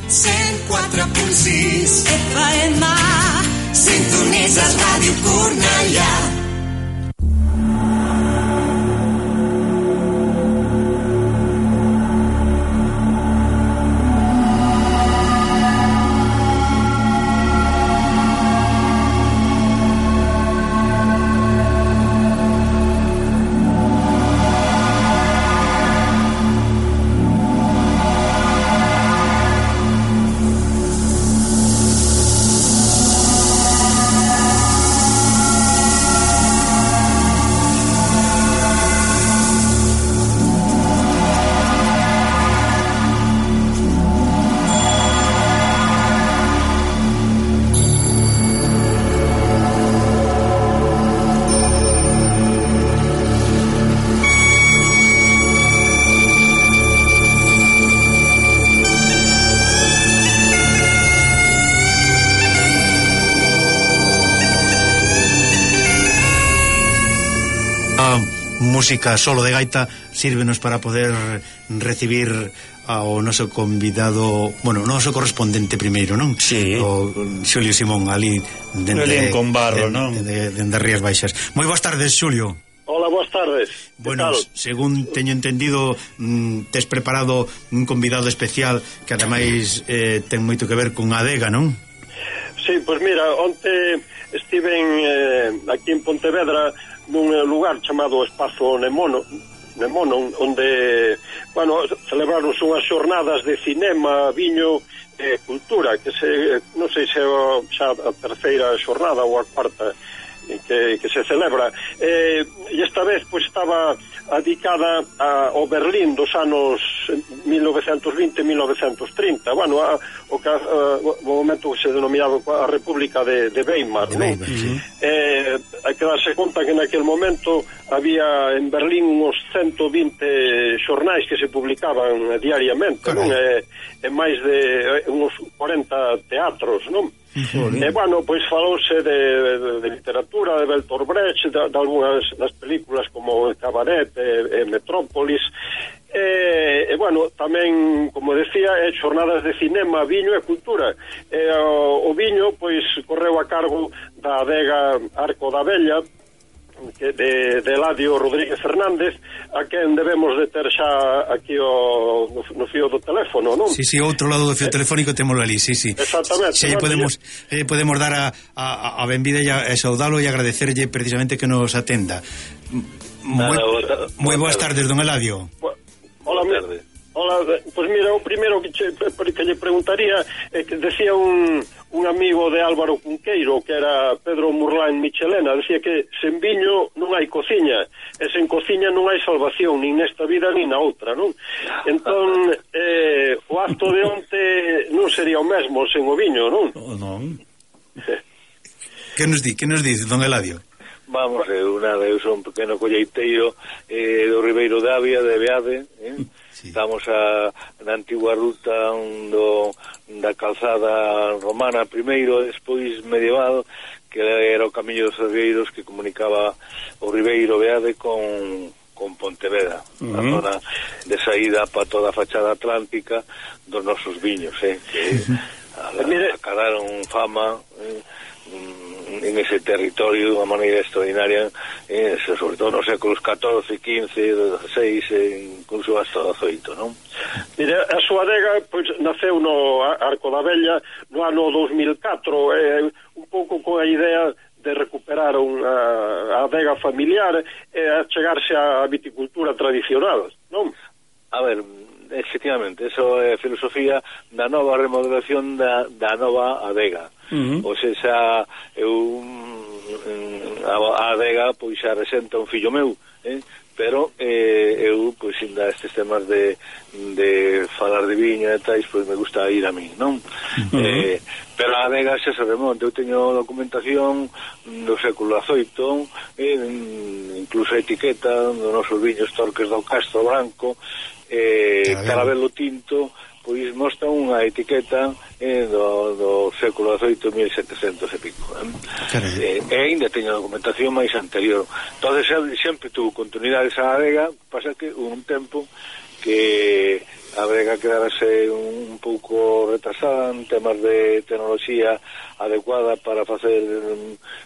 104.6 FM. Sintonitzes Ràdio Cornellà. Música solo de gaita sírvenos para poder recibir ao noso convidado, bueno, o noso correspondente primeiro, non? Sí. O Xulio Simón, ali dende con barro, non? Dende Rías Baixas. Moi boas tardes, Xulio. Hola, boas tardes. Bueno, según teño entendido, tes preparado un convidado especial que ademais ten moito que ver con Adega, non? Sí, pois mira, onte estiven aquí en Pontevedra nun lugar chamado Espazo Nemono, onde, bueno, celebraron unhas xornadas de cinema, viño e cultura, que non sei se xa a terceira xornada ou a cuarta que se celebra, e esta vez pois estaba dedicada ao Berlín dos anos 1920-1930, bueno, o momento que se denominaba a República de Weimar, non? Hai que darse conta que naquele momento había en Berlín uns 120 xornais que se publicaban diariamente, non? E máis de uns 40 teatros, non? E, bueno, pois falouse de literatura, de Bertolt Brecht, de algunhas das películas como Cabaret e Metrópolis, e, bueno, tamén, como decía, xornadas de cinema, viño e cultura. O viño, pois, correu a cargo da adega Arco da Vella, de Eladio Rodríguez Fernández, a quen debemos de ter xa aquí no fío do teléfono, non? Sí, outro lado do fío telefónico témolo ali, sí. Exactamente. Xa podemos dar a benvida e saudalo e agradecerlle precisamente que nos atenda. Moi boas tardes, don Eladio. Hola, pois mira, o primeiro que lle preguntaría é que decía un amigo de Álvaro Cunqueiro, que era Pedro Murlán Michelena, decía que sen viño non hai cociña, e sen cociña non hai salvación, nin nesta vida nin na outra, non? Entón, o acto de onte non sería o mesmo sen o viño, non? Non. Que nos dice, don Eladio? Vamos, eu son un pequeno colleiteiro do Ribeiro de Avia, de Beade, Sí. Estamos na antigua ruta da calzada romana primeiro, despois medieval, que era o camiño dos Cergueiros que comunicaba o Ribeiro Beade con Pontevedra, a zona de saída para toda a fachada atlántica dos nosos viños, que acadaron fama en ese territorio de unha maneira extraordinaria, sobre todo nos séculos XIV, XV, XVI, incluso hasta o XVIII, non? Mire, a súa adega pois naceu no Arco da Vella no ano 2004, un pouco con a idea de recuperar a adega familiar e a chegarse á viticultura tradicional, non? A ver, efectivamente, eso é filosofía da nova remodelación da nova adega. Ou seja, a adega pois xa resenta un fillo meu, pero eu pois ainda estes temas de falar de viña e tais, pois me gusta ir a mí, non? Pero a adega xa se remonta, eu teño documentación do século XVIII, incluso a etiqueta do nosos viños Torques do Castro Branco, Caramelo Tinto, pois mostra unha etiqueta do século XVIII, 1700 e pico, e ainda teño documentación máis anterior. Entonces sempre tuvo continuidade esa adega, pasa que un tempo que a adega quedarase un pouco retrasada en temas de tecnoloxía adecuada para facer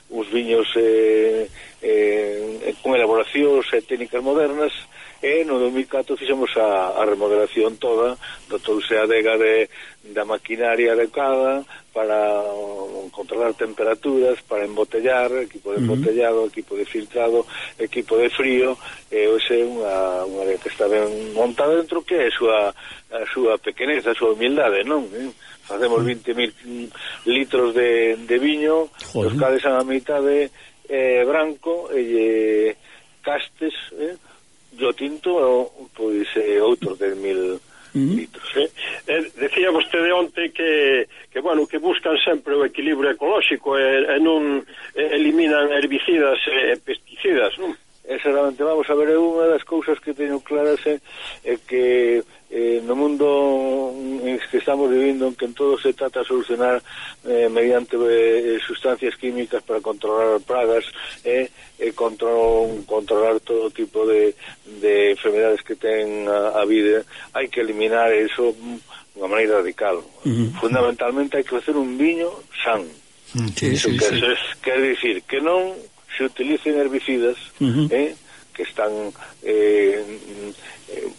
uns viños con elaboracións e técnicas modernas, e no 2004 fixemos a remodelación toda, dotouse a adega da maquinaria adecuada para controlar temperaturas, para embotellar, equipo de embotellado, equipo de filtrado, equipo de frío, e hoxe é unha adega que está ben montada dentro, que é a súa pequeneza, a súa humildade, non? Facemos 20.000 litros de viño, os cales a mitade branco e castes, o tinto, pois outros 10.000 litros. Decía vostede onte que buscan sempre o equilibrio ecolóxico e non eliminan herbicidas e pesticidas, non? Exactamente, vamos a ver, unha das cousas que teño claras é que no mundo en que estamos vivindo, en que en todo se trata de solucionar mediante sustancias químicas para controlar pragas e controlar todo tipo de enfermedades que ten a vida, hai que eliminar eso de unha maneira radical. Fundamentalmente hai que facer un viño san. Quer dicir que non se utilicen herbicidas que están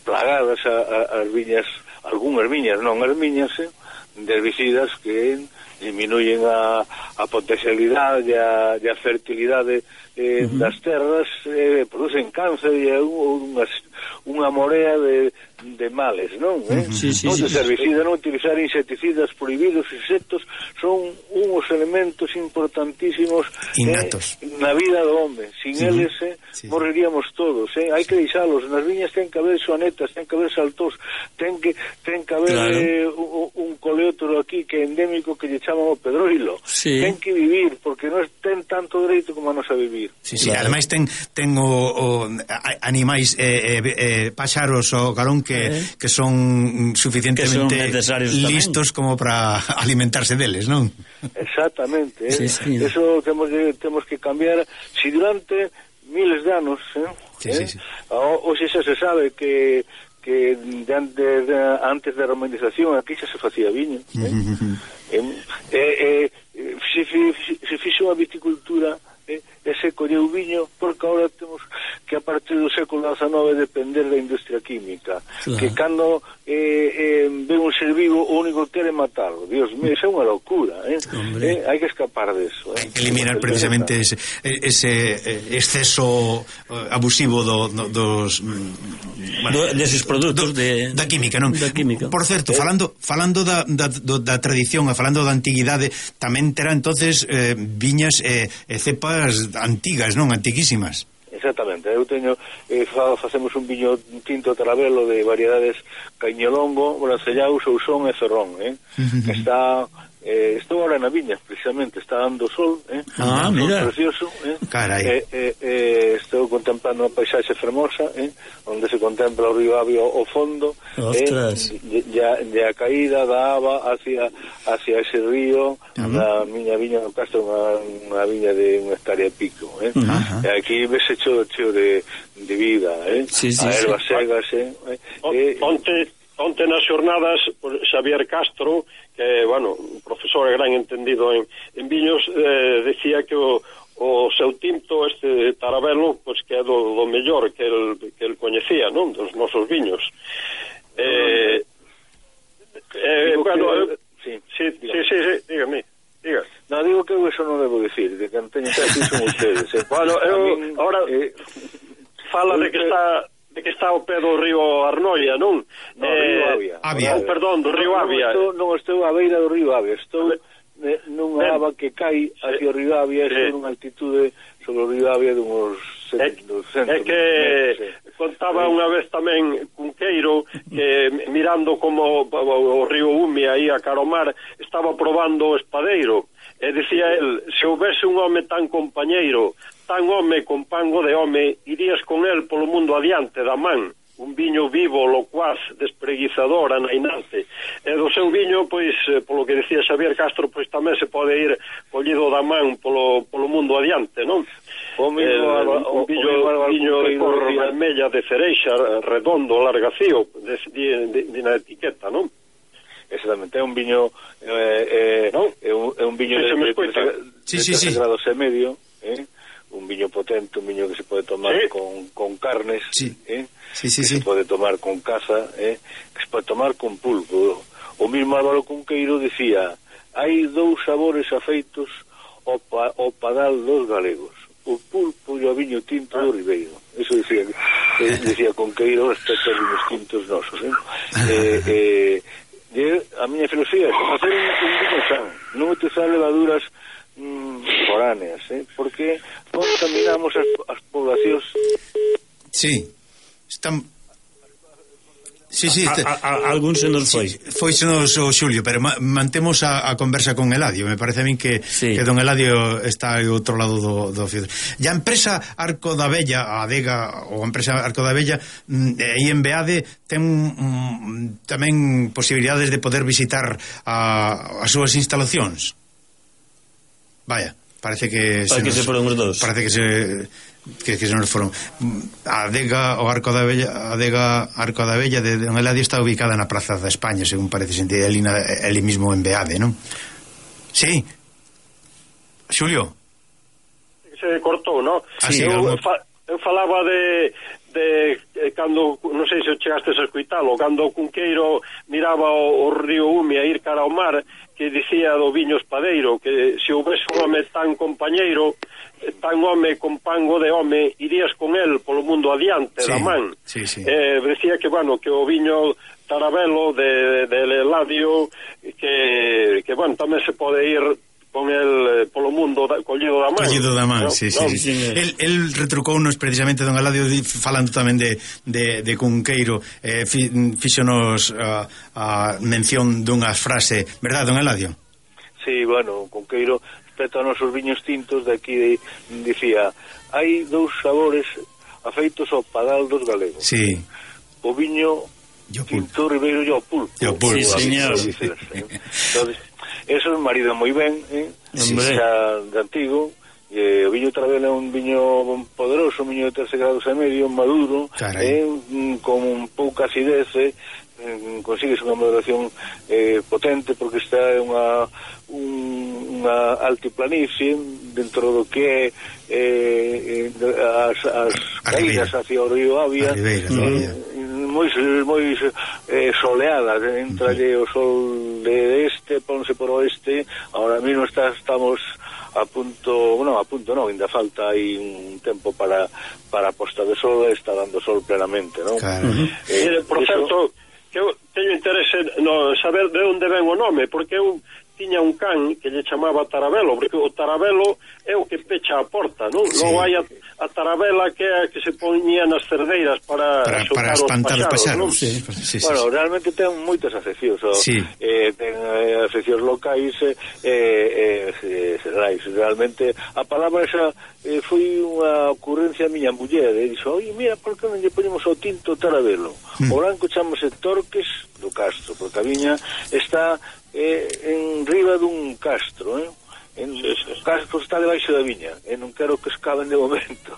plagadas as viñas, algunhas viñas, non as viñas, de herbicidas que diminuyen a potencialidade e a fertilidade das terras, producen cáncer e unha morea de males, non? Herbicidas, non utilizar insecticidas prohibidos, insectos son uns elementos importantísimos na vida do home. Sin eles morreríamos todos. Hai que deixalos. Nas viñas ten que haber sonetas, ten que haber saltós, ten que haber un coleótero aquí que é endémico que lle chaman o pedroilo. Ten que vivir, porque non ten tanto dereito como a nos a vivir. Ademais ten animais páxaros o carón que son suficientemente listos como para alimentarse deles, non? Exactamente. Eso temos que cambiar. Si durante miles de anos hoxe xa se sabe que antes da romanización aquí xa se facía viño, se fixo a viticultura e se colleu viño, porque agora temos que a partir do século XIX depender da industria química, que cando ve un ser vivo o único que quere matarlo. Dios mío, é unha locura, hai que escapar deso. Eliminar precisamente ese exceso abusivo dos deses produtos da química, non? Por certo, falando da tradición, falando da antiguidade, tamén terá entonces viñas e cepas antigas, non? Antiquísimas. Exactamente, eu teño facemos un viño tinto tarabelo de variedades Cañolongo, Bracellao, Sousón e Ferrón, que está estou ahora na viña, precisamente, está dando sol, mira, precioso, carai. Estou contemplando unha paisaxe fermosa, onde se contempla o río Avia ao fondo, e a caída da ava hacia ese río, na miña viña no Castro, unha viña de unha hectárea e pico, e aquí vese cheo de vida, a ervas segas, Onte nas xornadas, Xavier Castro, que, un profesor gran entendido en viños, decía que o seu tinto, este tarabelo, pois que é do mellor que el coñecía, non? Dos nosos viños. Dígame. No, digo que eu eso non debo decir, de que non teño que decir son ustedes. Ahora fala de que está ao pé do río Arnoia, non? No, río Avia. Perdón, do río Avia. Non estou á beira do río Avia, estou nunha ava que cai hacia o río Avia, estou nunha altitude sobre o río Avia de uns 200 é que contaba unha vez tamén Cunqueiro que mirando como o río Umia aí a Caromar estaba probando o espadeiro e decía el, se houvese un home tan compañeiro, tan home con pango de home, irías con el polo mundo adiante da man, un viño vivo, locuaz, despreguizador, anainante. E do seu viño, pois, polo que decía Xavier Castro, pois tamén se pode ir collido da man polo mundo adiante, non? Un viño de cor vermella de cereixa, redondo, largacío, na etiqueta, non? Exactamente, é un viño é un viño de 13 grados e medio, un viño potente, un viño que se pode tomar con carnes, que se pode tomar con caza, que se pode tomar con pulpo. O mismo Álvaro Cunqueiro dicía: hai dous sabores afeitos ao padal dos galegos, o pulpo e o viño tinto do Ribeiro. Eso decía Cunqueiro respecto aos viños tintos nosos. A miña filosofía é facer un viño san, non utilizar levaduras foráneas, porque contaminamos as poblacións. Están... Algún se nos foi. Foisenos o Xulio, pero mantemos a conversa con Eladio. Me parece a min que don Eladio está ao outro lado do fio. E a empresa Arco da Vella, a adega ou a empresa Arco da Vella, aí en Beade ten tamén posibilidades de poder visitar as súas instalacións. Vaya, parece que se foron os dous. Parece que se nos foron. A adega o Arco da Vella, a adega Arco da Vella de Don Eladio está ubicada na Praza da España, según parece sentir ali mismo en Beade, non? Sí. Xulio. Se cortou, non? Eu falaba de cando, non sei se chegaste a escuitalo, cando Cunqueiro miraba o río Ume a ir cara ao mar, que dicía do viño espadeiro, que se houvese un home tan compañeiro, tan home con pango de home, irías con el polo mundo adiante, da man. Decía que, bueno, que o viño Taravelo de Eladio, que bueno, tamén se pode ir con el polo mundo collido da man. Collido da man, sí. El retrucounos precisamente, don Eladio, falando tamén de Cunqueiro, fíxonos a mención dunha frase, verdad, don Eladio? Sí, bueno, Cunqueiro respecto a nosos viños tintos de aquí dicía: hai dous sabores afeitos ao padal dos galegos. Sí. O viño tinto Ribeiro e o pulpo. Sí, señor. Entonces, eso é marido moi ben, xa de antigo. O viño Taravelo é un viño poderoso, un viño de 13 grados e medio, maduro, con pouca acidez, consigues unha maduración potente, porque está unha altiplanicie dentro do que é as caídas hacia o río Avia, moi soleada, entralle o sol de este, ponse por oeste. Ahora mesmo estamos a punto, ainda falta aí un tempo para a posta de sol, está dando sol plenamente, non? Por certo, que eu teño interese no saber de onde ven o nome, porque eu tiña un can que lle chamaba Taravelo, porque o Taravelo é o que pecha a porta, non? Non hai a Taravela que é a que se poñía nas cerdeiras para espantar os paxaros, non? Bueno, realmente ten moitas afeccións, ten afeccións locais xerais. Realmente a palabra esa foi unha ocurrencia a miña muller, dixo: oi, mira, por que non lle poñemos o tinto Taravelo? O branco chamase Torques do Castro, porque a viña está en riba dun castro, o castro está debaixo da viña, e non quero que escaben de momento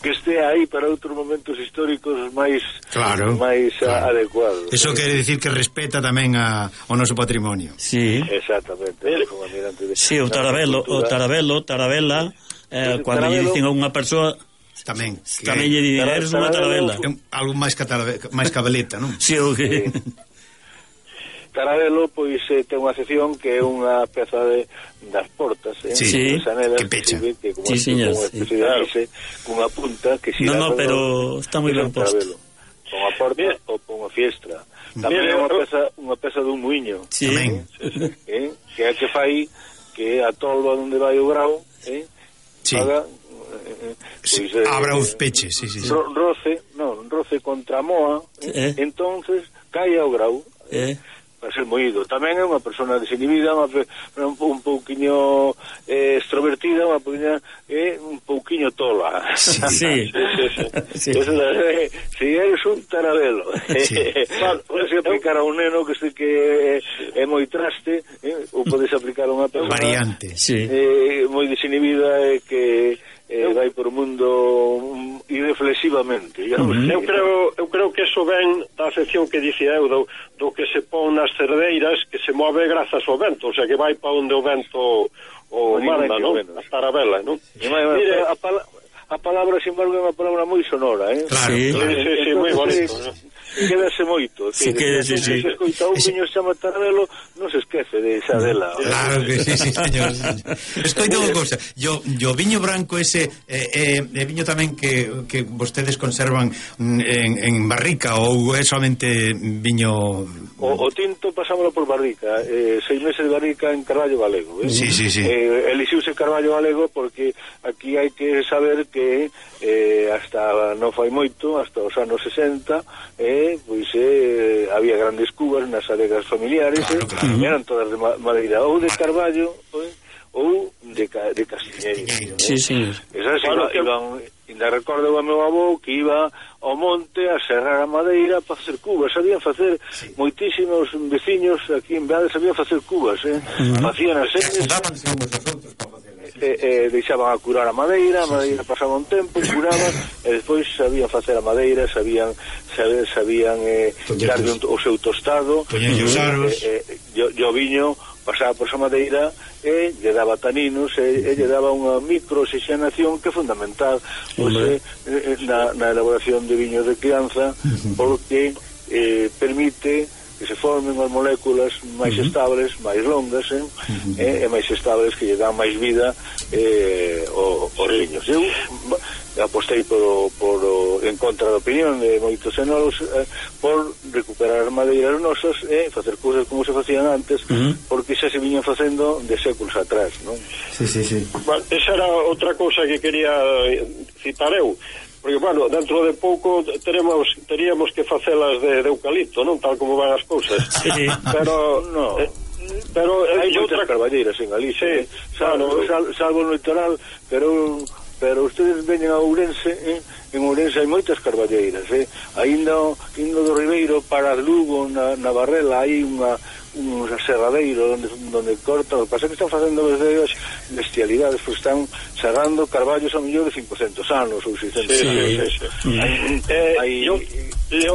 que este aí para outros momentos históricos máis adecuados. Eso quere dicir que respeta tamén o noso patrimonio. Sí, exactamente. Sí, o Taravela, cando lle dicen a unha persoa tamén lle dicen: eres unha Taravela, algo máis cabeleta, non? Sí, o que Taravelo, pois, ten unha sección que é unha peza das portas, que pecha, que como unha especie de base, cunha punta que si pero está moi ben posto, con a porta ou con a fiestra. Tamén é unha peza dun muiño, tamén, que é que fai que a tolva onde vai o grau, haga abra os peches, roce contra a moa, entonces cae ao grau, para ser moído. Tamén é unha persona desinhibida, un pouquiño extrovertida, unha pouquiña un pouquiño tola. Sí. Si eres un Taravelo, podes aplicar a un neno que sei que é moi traste, ou podes aplicar a unha persona variante, moi desinhibida, que vai por o mundo irreflexivamente. Eu creo que eso ven da afección que dicía eu do que se pon nas que se move grazas ao vento, o sea, que vai para onde o vento o manda, non? A Tarabela, non? Mire, a palabra, sin embargo, é unha palabra moi sonora, Claro, sí, moi bonito, quédase moito. Sí, quédase, sí. Se escoita un viño chama Tarabelo, non se esquece de esa dela. Claro que sí, señor. Escoita unha cousa, yo viño branco ese viño tamén que vostedes conservan en barrica ou é somente viño... O tinto pasámoslo por barrica, 6 meses de barrica en Carballo Galego. Sí. Elixiuse Carballo Galego porque aquí hai que saber que hasta non fai moito, hasta os anos 60, pois había grandes cubas nas adegas familiares, claro. Eran todas de madeira ou de Carballo ou de Castiñeiro. Sí, señor. Esas iban, ainda recordo o meu avó que iba ao monte a serrar a madeira para facer cubas. Sabían facer moitísimos veciños aquí en Beade, sabían facer cubas, facían as señas, deixaban a curar a madeira pasaba un tempo, curaban e despois sabían facer a madeira, sabían darle o seu tostado, e o viño pasaba por esa madeira e lle daba taninos e lle daba unha microoxigenación que é fundamental na elaboración de viños de crianza, porque permite que se formen as moléculas máis estables, máis longas, e máis estables, que lle dan máis vida aos viños. Eu apostei en contra da opinión de moitos enólogos por recuperar as madeiras nosas e facer cousas como se facían antes, porque xa se viñan facendo de séculos atrás, non? Sí. Bueno, esa era outra cousa que quería citar eu, porque, bueno, dentro de pouco teríamos que facelas de eucalipto, non? Tal como van as cousas. Sí. Pero hai moitas carballeiras en Galicia, salvo no litoral, pero ustedes veñen a Ourense, en Ourense hai moitas carballeiras, ainda do Ribeiro para Lugo, na Barrela, hai un serradeiro donde cortan. O que pasa é que están facendo bestialidades, porque están serrando carballos a mellor de 500 anos ou 600 anos.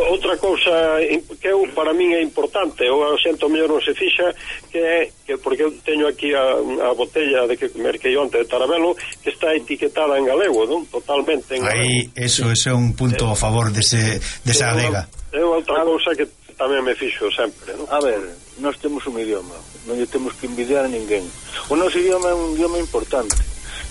Outra cousa que para min é importante, ou a xente mellor non se fixa, que porque eu teño aquí a botella de que merquei onte de Tarabelo, que está etiquetada en galego, non? Totalmente en galego. Aí, eso é un punto a favor desa adega. É outra cousa que tamén me fixo sempre, non? A ver, nós temos un idioma, non lle temos que envidiar a ninguén. O noso idioma é un idioma importante,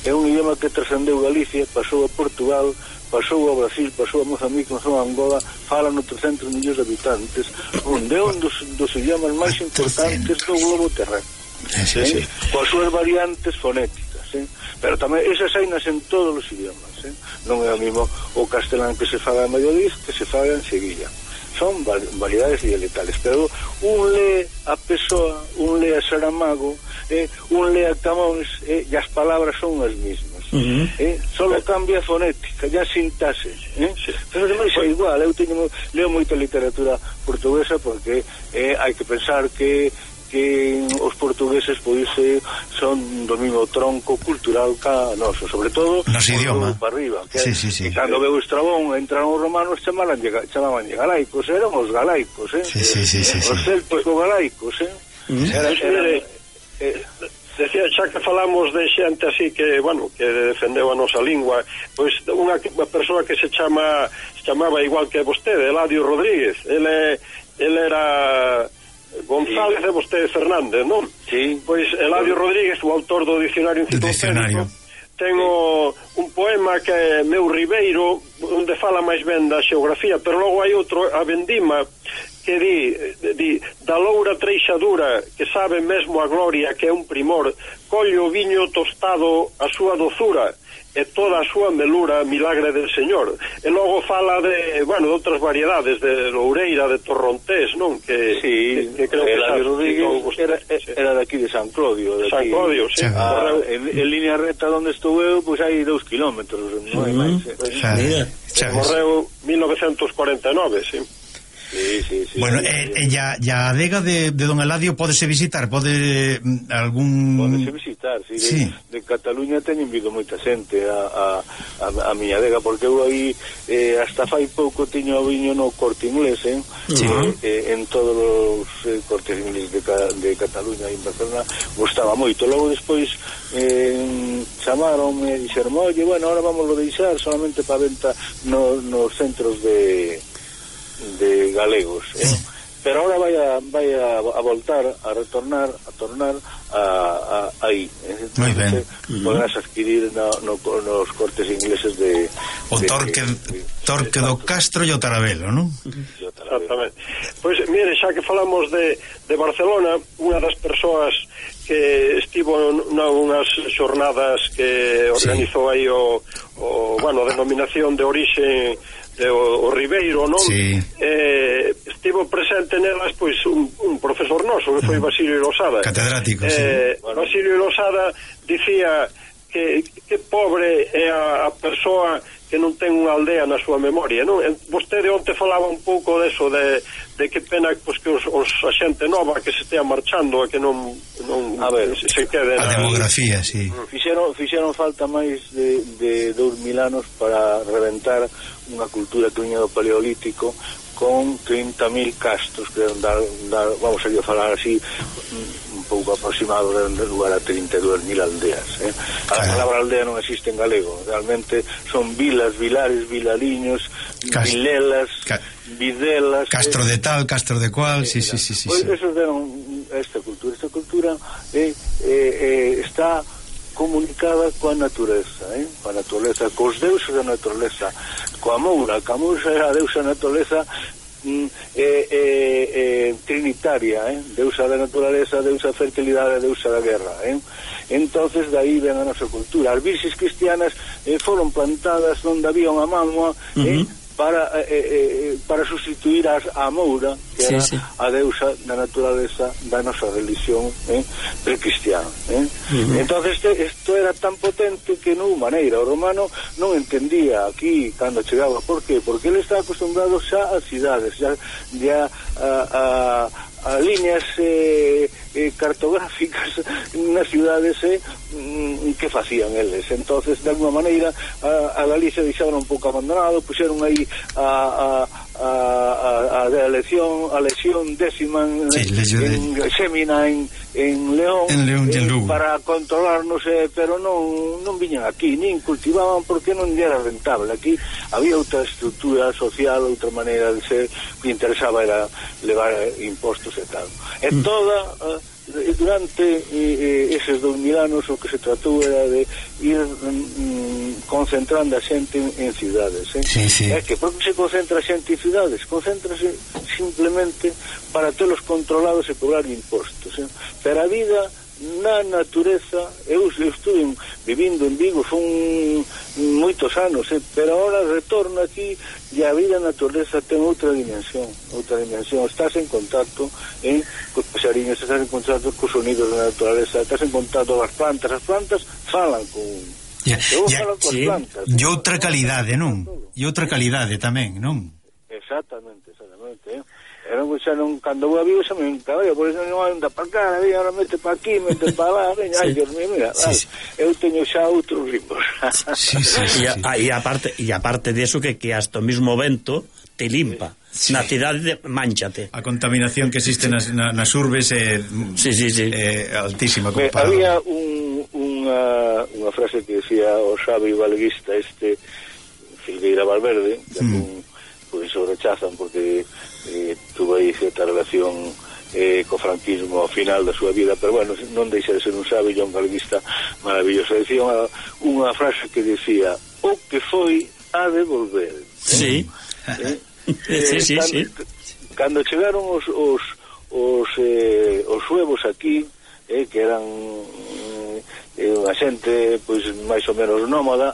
é un idioma que trascendeu Galicia, pasou a Portugal, pasou ao Brasil, pasou a Mozambique, pasou a Angola, falan 300 millóns de habitantes, onde é un dos idiomas máis importantes do globo terráqueo, coas súas variantes fonéticas, pero tamén esas hainas en todos os idiomas, non é o mismo o castelán que se fala en Valladolid que se fala en Sevilla. Son variedades dialectales, pero un lee a Pessoa, un lee a Saramago, un lee a Camões, e as palabras son as mismas. Solo cambia a fonética, ya sintaxe, pero demais é igual. Eu leo moita literatura portuguesa porque hai que pensar que os portugueses pois son do mesmo tronco cultural ca noso, sobre todo nos idioma para arriba, sí. Cando veu Estrabón entraron os romanos, chamaban galaicos, eran os galaicos, os célticos galaicos, Decía, xa que falamos de xente así que, bueno, que defendeu a nosa lingua, pois unha persoa que se chamaba igual que vostede, Eladio Rodríguez. Ele era González e vostede Fernández, non? Sí. Pois Eladio Rodríguez, o autor do Dicionario Enciclopédico, ten un poema que é Meu Ribeiro, onde fala máis ben da xeografía, pero logo hai outro, a Vendima, que di da loura treixadura, que sabe mesmo a gloria, que é un primor, colle o viño tostado a súa dozura, e toda a súa melura, milagre del Señor. E logo fala de outras variedades, de loureira, de torrontés, non? Que creo que Eladio Rodríguez era daqui de San Clodio. San Clodio, sí. En línea recta onde estou eu, pois hai 2 kilómetros, non hai máis. Morreu 1949, sí. Sí. Bueno, e a adega de Don Eladio pódese visitar, pódese visitar, sí. De Cataluña teñen vindo moita xente a miña adega, porque eu aí hasta fai pouco tiño o viño no Corte Inglés, en todos os Cortes Inglés de Cataluña e en Barcelona gustaba moito. Logo despois chamaronme e dixeron, oye, bueno, ahora vamos a deixar solamente para venta nos centros de galegos, pero ahora vai a voltar a retornar aí, moi ben, podrás adquirir nos Cortes Ingleses de o Torque do Castro e o Taravelo, non? Exactamente. Pois mire, xa que falamos de Barcelona, unha das persoas que estivo nunhas xornadas que organizou aí a denominación de orixe o Ribeiro, non? Sí. Estivo presente nelas pois un profesor noso que foi Basilio Losada, catedrático, sí. Basilio Losada dicía que pobre é a persoa que non ten unha aldea na súa memoria, non? Vostede onte falaba un pouco deso de que pena pois, que os a xente nova que se estea marchando e que non se quede a demografía, sí. Fixeron falta máis de 2000 anos para reventar unha cultura que viña do Paleolítico con 30.000 castros que dar vamos a falar así un pouco aproximado, de lugar a 32.000 aldeas, A palabra aldea non existe en galego, realmente son vilas, vilares, vilariños, vilelas, videlas, Castro de tal, Castro de cual, sí. Pois eso deron esta cultura está comunicada coa natureza, cos deuses da natureza, coa Moura, que a Moura é a deusa da natureza trinitaria, deusa da naturaleza, deusa da fertilidade, deusa da guerra, entonces daí ven a nosa cultura. As virxes cristianas foron plantadas onde había unha mámoa para sustituir a Moura, que era a deusa da naturaleza da nosa religión precristiana. Entonces isto era tan potente que non hubo maneira. O romano non entendía aquí cando chegaba. Por qué? Porque ele está acostumbrado xa a cidades, xa a líneas cartográficas nas cidades que facían eles. Entonces de alguma maneira a Galicia deixaron un pouco abandonado, puxeron aí a lesión décima en Xémina en León, para controlarnos, pero non viñan aquí, nin cultivaban porque non era rentable. Aquí había outra estructura social, outra maneira de ser, que interesaba era levar impostos e tal. E toda durante eses 2000 anos o que se tratou era de ir concentrando a xente en cidades, É que por que se concentra a xente en cidades? Concéntrase simplemente para telos controlados e cobrar impostos, pero a vida na natureza, eu estuve vivindo en Vigo son moitos anos, pero ahora retorno aquí e a vida na natureza ten outra dimensión, estás en contacto cos paxariños, estás en contacto cos sonidos da naturaleza, estás en contacto as plantas falan con e outra calidade, non? E outra calidade tamén, non? Exactamente. Cando vou a Vigo xa me encabeo, por eso non anda para cá, ahora mete para aquí, mete para lá, ai, Dios mío, mira, eu teño xa outros ritmos. E aparte de eso que hasta o mismo vento te limpa. Na cidade manchate. A contaminación que existe nas urbes é altísima comparada. Había unha frase que decía o sabio galeguista Filgueira Valverde, que pois o rechazan porque tuvo aí certa relación co franquismo ao final da súa vida, pero bueno, non deixa de ser un sabio e un galeguista maravilloso. Decía unha frase que decía: o que foi ha de volver. Sí. Cando chegaron os suevos aquí, que eran a xente pois máis ou menos nómada,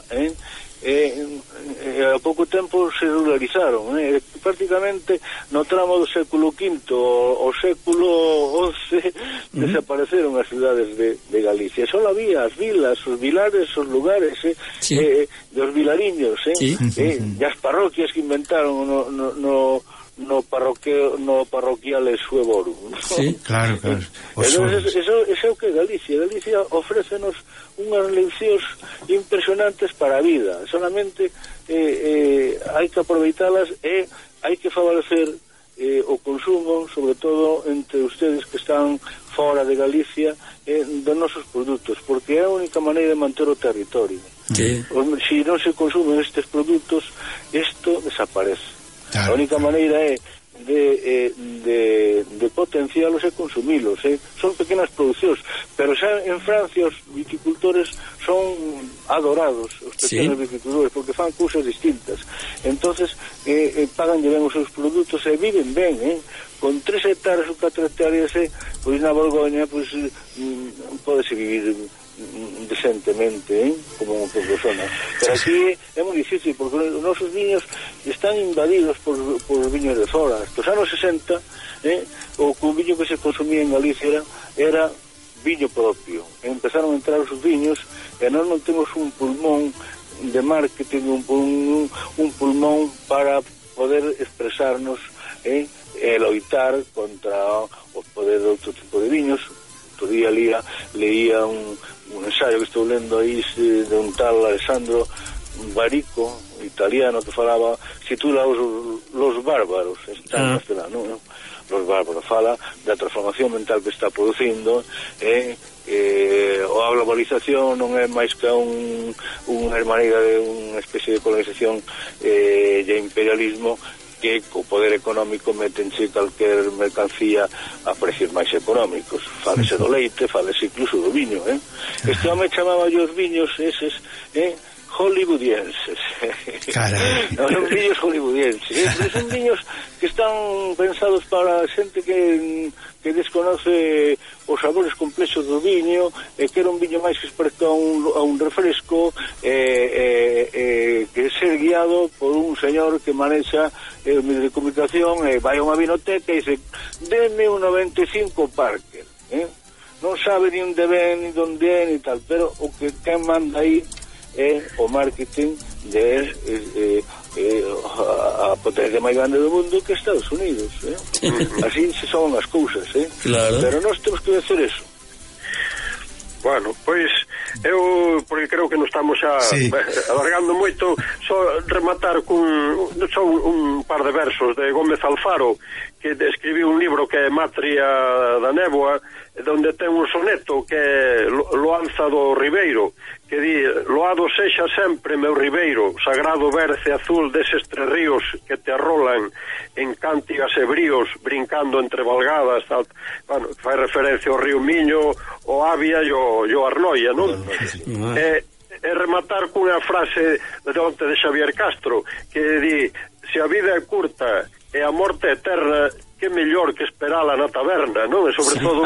a pouco tempo se ruralizaron, prácticamente no tramo do século V ao século XI desapareceron as cidades de Galicia. Só había as vilas, os vilares, os lugares dos vilariños, e as parroquias que inventaron no no parroquial Suevorum. Sí, claro. Entonces, eso é o que Galicia ofrécenos unhas leccións impresionantes para a vida. Solamente hai que aproveitalas e hai que favorecer o consumo, sobre todo entre ustedes que están fora de Galicia, dos nosos produtos, porque é a única maneira de manter o territorio. Sí. Se non se consumen estes produtos, isto desaparece. Claro. A única maneira é de potencialos e consumilos, son pequenas produccións, pero xa en Francia os viticultores son adorados, os pequenos viticultores, porque fan cousas distintas. Entonces pagan ben os seus produtos e viven ben, con 3 hectáreas ou 4 hectáreas, pois na Borgoña pódese vivir decentemente, como persona. Pero aquí é moi difícil, porque os nosos viños están invadidos por viños de fora. Nos anos 60, o viño que se consumía en Galicia era viño propio. Empezaron a entrar os viños e nós non temos un pulmón de marketing, un pulmón para poder expresarnos e loitar contra o poder de outro tipo de viños. Outro día leía un ensayo que estou lendo aí de un tal Alessandro Barico, italiano, que falaba, titula Los Bárbaros, está en castelano, ¿no? Los Bárbaros, fala da transformación mental que está producindo, a globalización non é máis que unha maneira de unha especie de colonización e imperialismo, que co poder económico metense calquer mercancía a precios máis económicos. Fálese do leite, fálese incluso do viño, Este home chamaba os viños eses, hollywoodienses. Son viños hollywoodienses, son viños que están pensados para xente que desconoce os sabores complexos do viño, que era un viño máis que experto a un refresco, que ser guiado por un señor que manexa o medio de comunicación, vai a unha vinoteca e dice, deme un 95 Parker, non sabe ni onde ven, ni onde é, ni tal, pero o que quen manda aí é o marketing de a potencia máis grande do mundo, que é Estados Unidos, así se son as cousas, claro. Pero nós temos que decir eso. Bueno, pois eu, porque creo que non estamos xa alargando moito, só rematar con só un par de versos de Gómez Alfaro, que escribiu un libro que é Matria da Néboa, onde ten un soneto que é Loanza do Ribeiro, que di: loado sexa sempre meu ribeiro, sagrado berce azul deses 3 ríos que te arrolan en cántigas e bríos, brincando entre valgadas, tal. Bueno, fai referencia ao río Miño, o Avia e o Arnoia, non? E rematar cunha frase de onte de Xavier Castro, que di: se a vida é curta e a morte eterna, que mellor que esperala na taberna, non? E sobre todo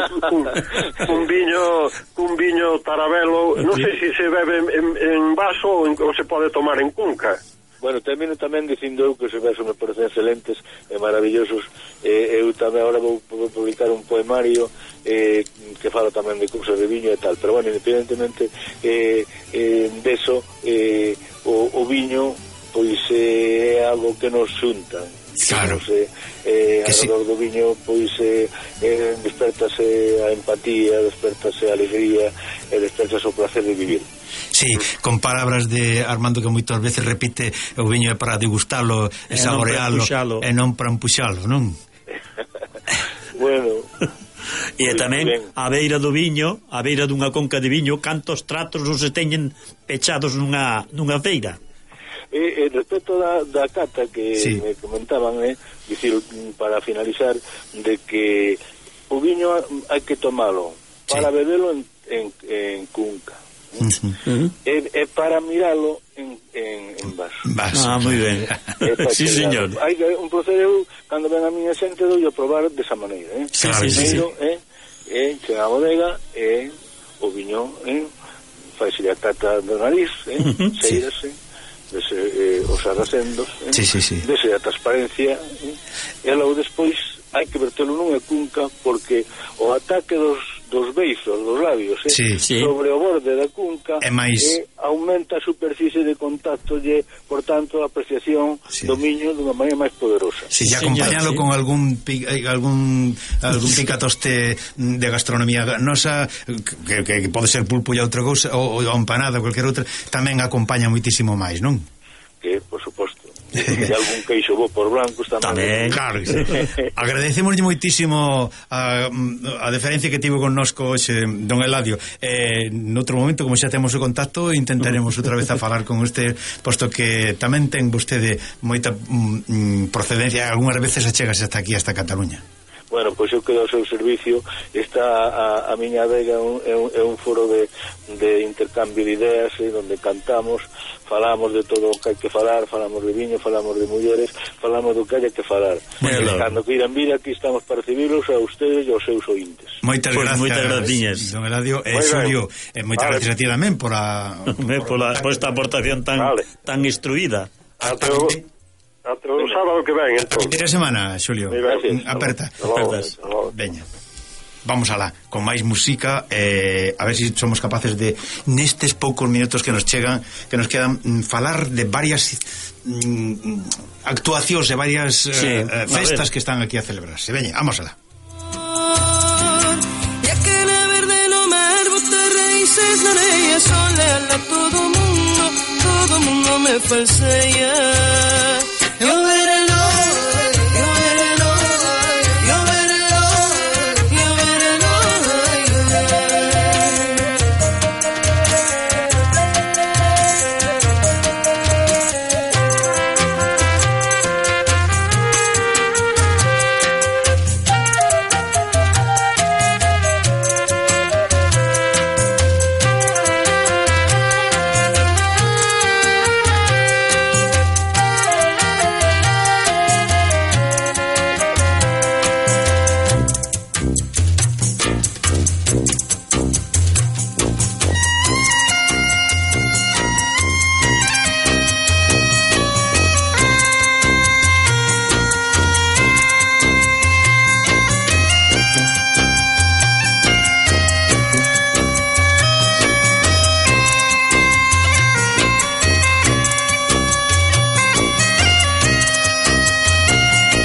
cun viño tarabelo, non sei se se bebe en vaso ou se pode tomar en cunca. Bueno, termino tamén dicindo eu que os versos me parecen excelentes e maravillosos. Eu tamén agora vou publicar un poemario que fala tamén de cousas de viño e tal, pero bueno, independentemente deso, o viño pois é algo que nos xunta. Claro. Alrededor do viño pois despertase a empatía, despertase a alegría e despertase o placer de vivir. Sí, con palabras de Armando que moitas veces repite: o viño é para degustalo e saborealo e non para empuxalo, non? Bueno, e tamén a beira do viño, a beira dunha conca de viño, cantos tratos non se teñen pechados nunha feira. Respecto da cata que me comentaban, dicir, para finalizar, de que o viño hai que tomalo para bebelo en cunca, e para miralo en vaso. Moi ben. Sí, señor. Hai un procedeu, cando ven a miña xente, dou a probar desa maneira, primeiro chega a bodega e o viño faise a cata do nariz, seírase os arracendos, dese a transparencia, e logo despois hai que vertelo nunha cunca, porque o ataque dos dos beizos, dos labios, sobre o borde da cunca, aumenta a superficie de contacto e, por tanto, a apreciación do miño dunha maneira máis poderosa. Si, acompañalo con algún picatoste de gastronomía nosa, que pode ser pulpo e outra cousa, ou empanada, qualquer outra, tamén acompaña moitísimo máis, non? Que, por suposto. E algún queixo bo por blancos tamén. Claro que sí. Agradecemoslle moitísimo a deferencia que tivo connosco hoxe don Eladio. Noutro momento, como xa temos o contacto, intentaremos outra vez a falar con usted, posto que tamén ten vostede moita procedencia, algunhas veces achegase hasta aquí, hasta Cataluña. Bueno, pois eu quedo ao seu servicio. Está a miña adega é un foro de intercambio de ideas, onde cantamos, falamos de todo o que hai que falar, falamos de viño, falamos de mulleres, falamos do que hai que falar. Cando queiran vir, aquí estamos para recibilos a ustedes e aos seus ointes. Moitas gracias, don Eladio. Xulio, moitas gracias a ti tamén por esta aportación tan instruída. Ata o sábado que ven, entón. A semana, Xulio. Aperta. Veña. Vamos alá, con máis música, a ver se somos capaces de, nestes poucos minutos que nos chegan, que nos quedan, falar de varias actuacións, de varias festas que están aquí a celebrarse. Veña, vamos alá. Ya que la verde no mar bota raíces, la areia, sol, todo mundo me falsea.